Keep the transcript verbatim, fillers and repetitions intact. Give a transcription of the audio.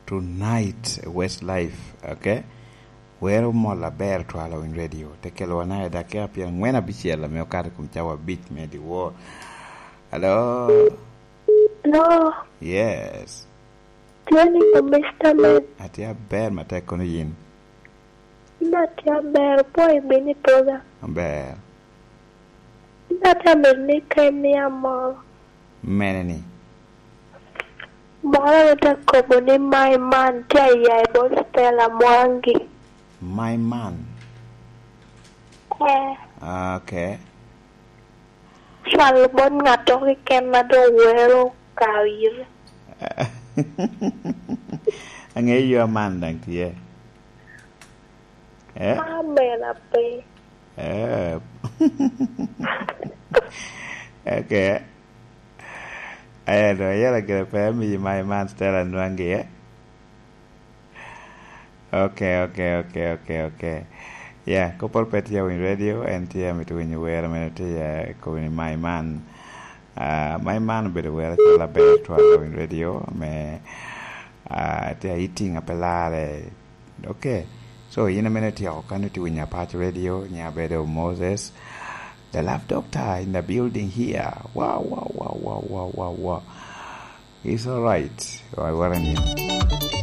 Tonight, Westlife, okay? Wero mol aber twal Owiny Radio. Te kelo wana i dakika pyerangwen abicel ame okato i kom cawa abic me dyewor. Hello? Hello? Yes. Tye ni ko, Mister Man. Atye aber matek kono yin. Yin atye aber, po ibin i poda. Aber. Yin atye aber ni ka imia moro. Mene ni? Moro ame te kobo ni, "My man tye aya i bot Stella Mwangi." My man? Eh. Okay. Cwalo bot ngatto keken a doŋ wero ka ire. Aŋeyo your man daŋ tye. Eh? Amen, ape. Eh. Okay. Aye, do, yala gire pe, mi my man Stella Nwangi, eh? Okay, okay, okay, okay, okay. Yeah, kopporo pe tye Owiny Radio, en tye amito winyo wer, amito tye, eh, kobo ni My Man. Ah, My Man obedo wer acel aber twal Owiny Radio, me, ah, tye a hitting ape larre. Okay. So, yin amene tyeko kan iti winyo Apac Radio, nya bedo Moses. The Love Doctor in the building here. Wow, wow, wow, wow, wow, wow, wow. It's all right. Wa-, wara ni.